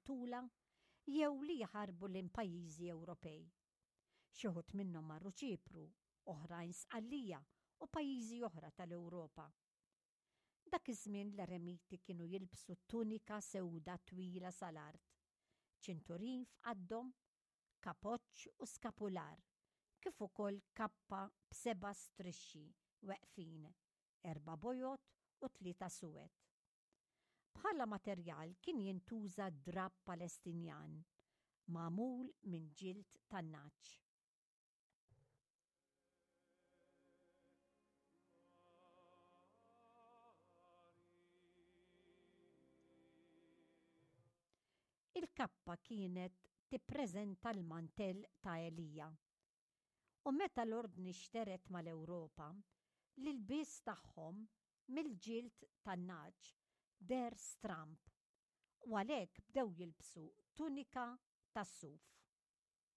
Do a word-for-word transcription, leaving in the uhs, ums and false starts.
joqtulha jew li jaħarbu lejn pajjiżi Ewropej. Xi wħud minnhom marru Ċipru, oħrajn Sqallija u pajjiżi oħra tal-Ewropa. Dak iż-żmien l-eremiti kienu jilbsu tunika sewda twila sal-art, ċinturin f'qaddhom, kapoċċ u skapular, kif ukoll kappa b'seba' strixxi weqfin, erba' bojod u tlieta suwed. Bħala materjal kien jintuża drapp Palestinjan magħmul minn ġild tan-nagħaġ. Il-kappa kienet tippreżenta l-mantell ta' Elija. U meta l-ordni xteret mal-Ewropa, l-ilbies tagħhom mill-ġild tan-nagħaġ deher stramb u għalhekk bdew jilbsu tunika tas-suf.